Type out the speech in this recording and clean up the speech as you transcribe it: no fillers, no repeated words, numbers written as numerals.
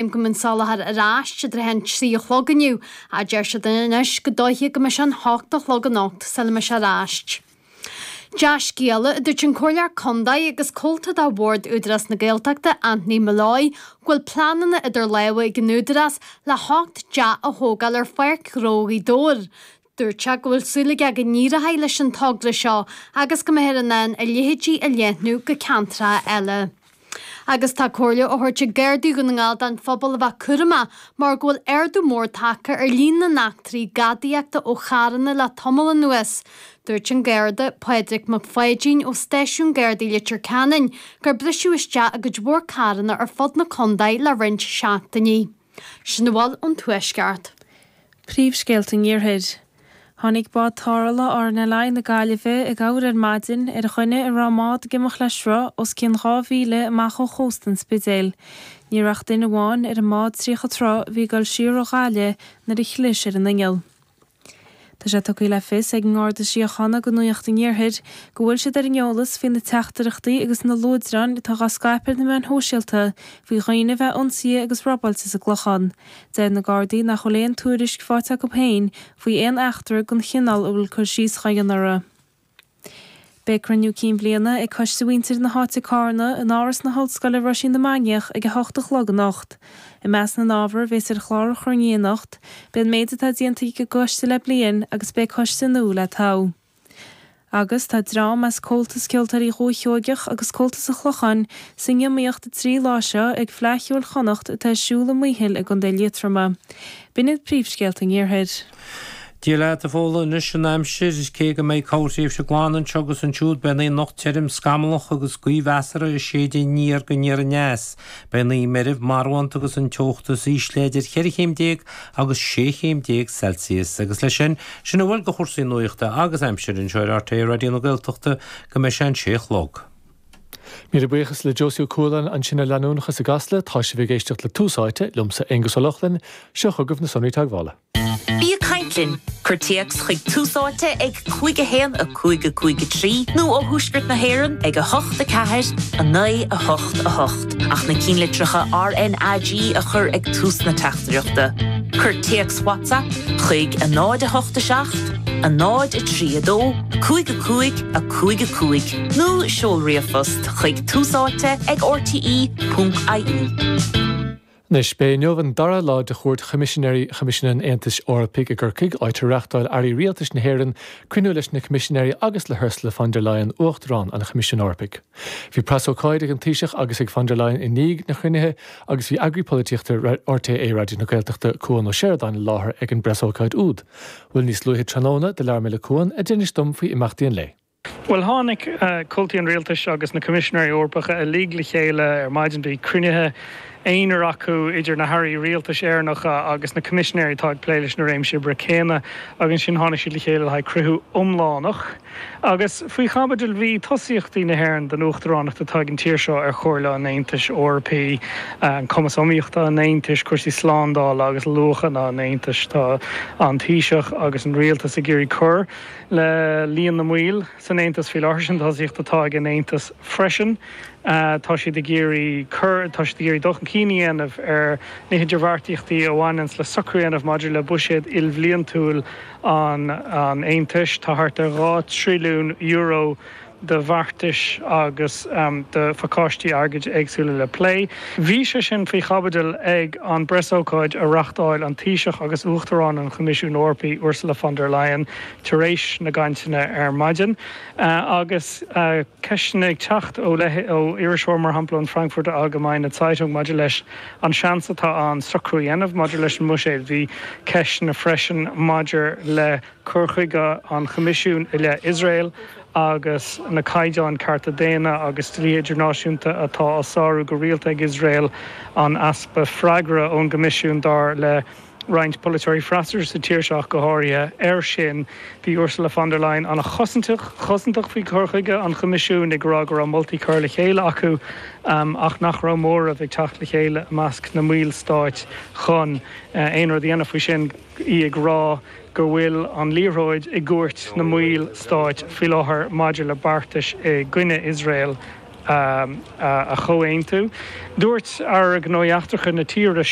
Go mbeidh an soláthar ar ais i dtrátha an 3 a chlog inniu, ach deir siad anois gur dóiche go mbeidh sé an 8 a chlog anocht sula mbeidh sé ar ais. Dea-scéala, a dúirt an Comhairleoir Contae agus comhalta de Bhord Údarás na Gaeltachta, Anthony Molloy, go bhfuil pleananna idir lámha ag an Údarás le hocht dteach a thógáil ar Pháirc Ghnó Ghaoth Dobhair. Dúirt sé go bhfuil súil aige go n-éireoidh leis an togra seo agus go mbeifear in ann a leithéidí a leathnú go ceantracha eile. Agus tá comhairle á thabhairt ag Gardaí Dhún na nGall don phobal a bheith cúramach mar go bhfuil ardú mór tagtha ar líon na n-eachtraí gadaíochta ó charranna le tamall anuas. Dúirt an Garda, Pádraig Mac Pháidín ó Stáisiún Gardaí Leitir Ceanainn gur briseadh isteach i gcuid mhór carranna ar fud na contae le roinnt seachtainí. Sin a bhfuil ón Tuaisceart. Príomhscéalta an Iarthair. Tháinig bád tarrthála RNLI na Gaillimhe i gcabhair ar maidin ar dhuine a raibh a mbád ag imeacht le sruth os cionn 2 mhíle amach ó chósta an Spidéil. Ní raibh ach duine amháin ar an mbád 30 troigh a bhí ag dul siar ó Ghaillimh nuair a chlis ar an inneall. Tá sé tugtha le fios ag an nGarda Síochána do Nuacht an Iarthair go bhfuil siad ar an eolas faoi na teachtaireachtaí agus na luaidreáin atá dhá scaipeadh ar na meáin shóisialta faoi dhaoine a bheith ionsaithe agus robáilte sa gClochán. Deir na Gardaí nach bhfuil aon tuairisc faighte acu féin faoi aon eachtra den chineál a bhfuil cur síos dhá dhéanamh orthu. Beidh cruinniú cinn bliana ag Coiste Mhuintir na hÁite Cárna in Áras na hOllscoile Roisín na Mainiach ag 8 a chlog anocht. I measc na n-ábhar a bhéas ar chlár an chruinnithe anocht, beidh an méid atá déanta ag an gcoiste le bliain agus beidh coiste nua le toghadh. Agus tá dream as Comhaltas Ceoltóirí Dhúiche Sheoigeach agus Comhaltas an Chlocháin san iomaíocht an 3 lá seo ag Fleadh Cheoil Chonnacht atá ar siúl i Maothail i gContae Liatroma. B'in iad príomhscéalta an Iarthair. Dia leat, a Fódhla, anois an aimsir, cé go mbeidh corrthréimhse glan anseo agus ansiúd, beidh an oíche anocht tirim, scamallach agus gaoth mheasartha ag séideadh aniar go aniar aneas. Beidh an oíche meirbh, marbhánta agus an teocht is ísle idir cheithre chéim déag agus sé chéim déag Celsius. Agus leis sin, sin a bhfuil de chúrsaí nuachta agus aimsire anseo ar RTÉ Raidió na Gaeltachta go mbeidh sé an sé a chlog. Míle buíochas le Josie Ó Cualáin ansin ar Leanúnachas i gCasla. Tá sibh ag éisteacht le Tús Áite, liomsa Aengus Ó Lochlainn. Seo chugaibh na sonraí teagmhála. Bí ag caint linn! Cuir téacs chuig Tús Áite ag 5 1 5 5 3 nó ó Thuaisceart na hÉireann ag 8 4 9 8 8 ach na cinnlitreacha RnaG a chur ag tús na teachtaireachta. Cuir téacs WhatsApp chuig 0 8 7 0 3 2 5 5 5 5 nó seol ríomhphost chuig túsáite ag rte.ie. Anois, b'é inniu an dara lá de chuairt Choimisinéirí Choimisiún an Aontais Eorpaigh i gCorcaigh, áit ar reáchtáil Airí Rialtais na hÉireann cruinniú leis na Coimisinéirí agus le hUrsula von der Leyen, Uachtarán an Choimisiúin Eorpaigh. Bhí preasócáid ag an Taoiseach agus ag von der Leyen i ndiaidh na chruinnithe agus bhí eagraí polaitíochta RTÉ Raidió na Gaeltachta, Cuan Ó Seireadáin i láthair ag an bpreasócáid úd. Bhuel, níos luaithe tráthnóna, do labhair mé le Cuan, a d'inis dom faoi imeachtaí an lae. Bhuel, tháinig comhaltaí an rialtais agus na Coimisinéirí Eorpacha uilig le chéile ar maidin. Bhí cruinnithe aonair acu idir na hairí rialtais Éireannacha agus na Coimisinéirí atá ag plé leis na réimsí oibre céanna agus ansin tháinig siad le chéile le haghaidh cruinniú iomlánach. Agus faoi chaibidil bhí tosaíochtaí na hÉireann don uachtaránacht atá ag an tír seo ar Chomhairle an Aontais Eorpaigh, cumas iomaíochta an Aontais, cúrsaí slándála agus luachanna an Aontais. Tá an Taoiseach agus an rialtas ag iarraidh cur le líon na mbaill san Aontas faoi láthair, sin tosaíocht atá ag an Aontas freisin. Tá siad ag iarraidh cur, tá siad ag iarraidh dul chun cinn a dhéanamh ar na hidirbheartaíochtaí a bhaineanns le socrú a dhéanamh maidir le buiséad ilbhliantúil an Aontais. Tá thart ar €2 trilliún de bheartais agus de phacáistí airgid éagsúla le plé. Bhí sé sin faoi chaibidil ag an bpreasócáid a reáchtáil an Taoiseach agus Uachtarán an Choimisiúin Eorpaigh, Ursula von der Leyen, tar éis na gcainteanna ar maidin. Agus ceisteanna ag teacht ó ó iriseoir, mar shampla, ón Frankfurter Allgemeine Zeitung maidir leis an seans atá ann socrú a dhéanamh maidir leis an mbuiséad, bhí ceisteanna freisin maidir le cur chuige an Choimisiúin i leith Iosrael agus na caighdeáin cearta daonna agus dlíthe idirnáisiúnta atá á sárú go rialta ag Iosrael, an easpa freagra ón gCoimisiún, dar le roinnt polaiteoirí freasúra sa tír seo ach go háirithe, air sin. Bhí Ursula von der Leyen an-chosantach faoi chur chuige an Choimisiúin, ag rá go raibh moltaí curtha le chéile acu ach nach raibh móramh ag teacht le chéile i measc na mballstáit chun aon rud a dhéanamh faoi sin, í ag rá go bhfuil an liathróid i gcúirt na mball stáit faoi láthair maidir le beartais i gcoinne Iosrael. a chomhaontú. Dúirt Aire Gnóthaí Eachtracha na tíre.